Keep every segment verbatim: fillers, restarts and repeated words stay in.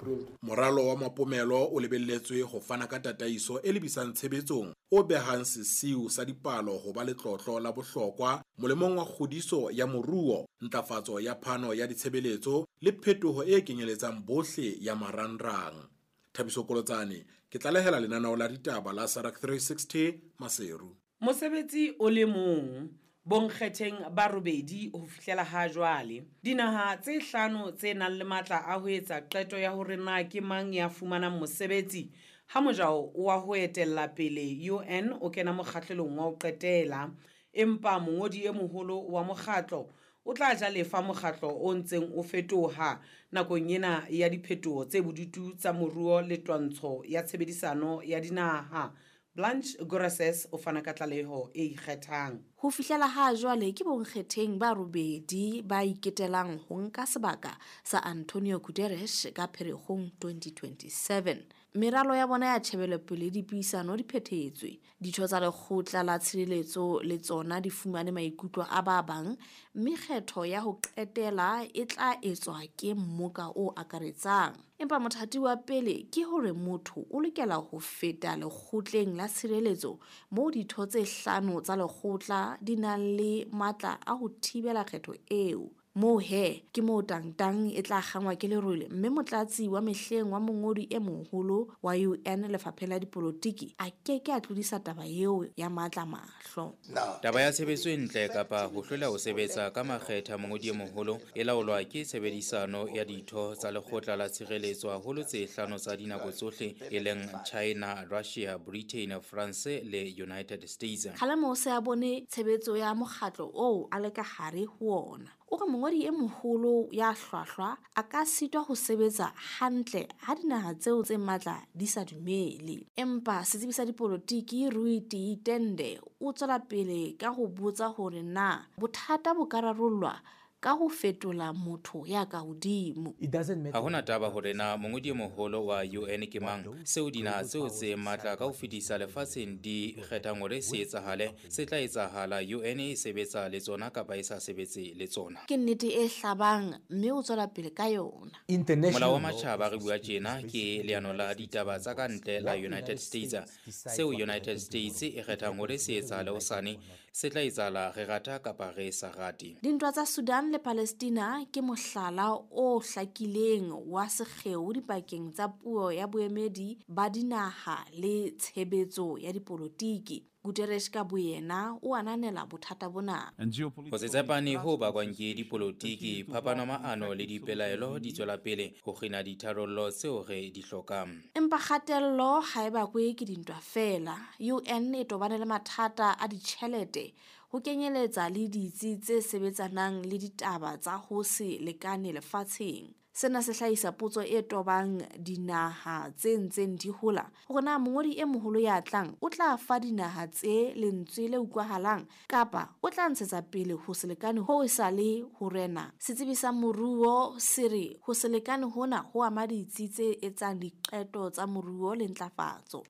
blueprint. Moralo wa Mapomelo o lebelletswe ho fana ka tataiso e lebisang tshebetsong o behang sesiu sa dipalo ho ba letlotlo la bohlokwa molemong wa kgodiso ya moruo, ntlafatso ya phano ya ditshebeletso le phetoho e kenyeletsang bohle ya marangrang. Thabiso Kolotsane, ke tlalehela lenaneo la ditaba la S A D C three sixty Maseru. Mosebetsi o le mong bonkgetheng ba robedi ho fihlela ha jwale. Dinaha tse hlano tse nang le matla a ho etsa qeto ya hore na ke mang ya fumanang mosebetsi ha mojao wa ho etella pele U N o kena mokgahlelong wa ho qetela, empa mongodi e moholo wa mokgatlo o tla ja lefa mokgatlo o ntseng o fetoha nakong ena ya diphetoho tse bodutu tsa moruo le twantsho ya tshebedisano ya dinaha. Blanche Goreses o fana ka tlaleho e ikgethang. Ho fihlela ha jwale ke bonkgetheng ba robedi ba iketelang ho nka sebaka sa Antonio Guterres ka Pherekgong twenty twenty-seven. Meralo ya bona ya tjhebelopele le dipuisano di phethetswe. Ditho tsa lekgotla la tshireletso le tsona di fumane maikutlo a ba bang, mme kgetho ya ho qetela e tla etswa ke mmoka o akaretsang. Empa mothati wa pele ke hore motho o lokela ho feta lekgotleng la tshireletso moo ditho tse hlano tsa lekgotla di nang le matla a ho thibela kgetho eo. Moo he ke moo tangtang e tla kgangwa ke lerole, mme motlatsi wa mehleng wa mongodi e moholo wa U N lefapheng la dipolotiki a ke ke a tlodisa taba eo ya matla mahlo. Taba ya tshebetso e ntle kapa ho hlola ho sebetsa ka makgetha mongodi e moholo e laolwa ke tshebedisano ya ditho tsa lekgotla la tshireletso haholo tse hlano tsa dinako tsohle e leng China, Russia, Britain, France le United States. Kgalemo o se a bone tshebetso ya mokgatlo oo a le ka hare ho ona. O re mongodi e moholo ya hlwahlwa a ka sitwa ho sebetsa hantle ha dinaha tseo tse matla di sa dumele. Empa setsebi sa dipolotiki Rui Tende o tswela pele ka ho botsa hore na bothata bo ka rarollwa ka ho fetola motho ya ka hodimo. It doesn't matter. Ha hona taba hore na mongodi e moholo wa U N ke mang, seo dinaha tseo tse matla ka ho fetisa lefatsheng di kgethang hore se etsahale, se tla etsahala. U N e sebetsa le tsona kapa e sa sebetse le tsona. Ke nnete e hlabang mme o tswela pele ka yona. International Molao wa matjhaba re bua tjena ke leano la ditaba tsa ka ntle la United States. Seo United States e kgethang hore se etsahale hosane, se tla etsahala re rata kapa re sa rate. Dintwa tsa Sudan le Palestina ke mohlala o hlakileng wa sekgeo dipakeng tsa puo ya boemedi ba dinaha le tshebetso ya dipolotiki. Guterres ka boyena o ananela bothata bona. Ho se tshepane ho bakwang ke dipolotiki, phapano maano le dipelaelo di tswela pele ho kgina ditharollo tseo re di hlokang. Empa kgatello ha e bakwe ke dintwa feela. U N e tobane le mathata a ditjhelete ho kenyeletsa le ditsi tse sebetsanang le ditaba tsa ho se lekane lefatsheng. Sena se hlahisa potso e tobang dinaha tse ntseng di hola hore na mongodi e moholo ya tlang o tla fa dinaha tse lentswe le utlwahalang kapa o tla ntshetsa pele ho se lekane ho e sa le ho rena. Setsebi sa moruo se re ho se lekane hona ho ama ditsi tse etsang diqeto tsa moruo le ntlafatso.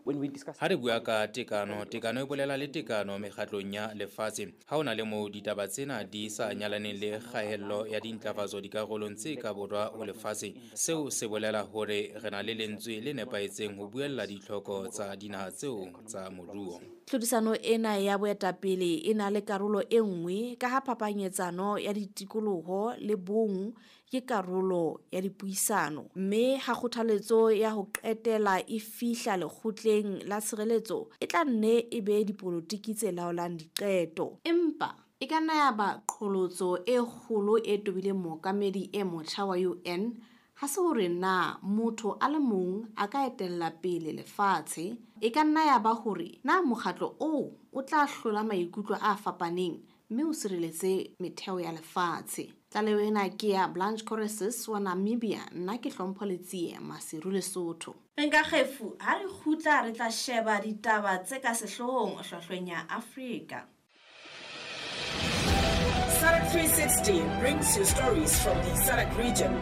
Ha re bua ka tekano, tekano e bolela le tekano mekgatlong ya lefatshe. Ha hona le moo ditaba tsena di sa nyalaneng le kgaello ya dintlafatso dikarolong tse ka borwa ho lefatshe, seo se bolela hore re na le lentswe le nepahetseng ho buella ditlhoko tsa dinaha tseo tsa moruo. Tlhodisano ena ya boetapele e na le karolo e nngwe ka ha phapanyetsano ya ditikoloho le bong ke karolo ya dipuisano, mme ha kgothaletso ya ho qetela e fihla lekgotleng la tshireletso e tla nne e be dipolotiki tse laolang diqeto. Empa e ka nna ya ba qholotso e kgolo e tobileng mookamedi e motjha wa U N ha se hore na motho a le mong a ka etella pele lefatshe, e ka nna ya ba hore na mokgatlo oo o tla hlola maikutlo a fapaneng mme o sireletse metheo ya lefatshe. Tlaleho ena ke ya Blanche Corresis wa Namibia, nna ke Hlompho Letsie, Maseru, Lesotho. Re nka kgefu ha re kgutla re tla sheba ditaba tse ka sehloohong hlwahlweng ya Afrika. S A D C three sixty brings you stories from the S A D C region,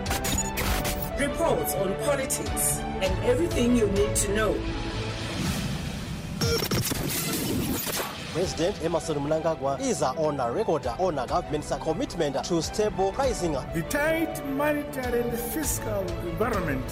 reports on politics and everything you need to know. President Emmerson Mnangagwa is on a record on a government's commitment to stable pricing. The tight monetary and fiscal environment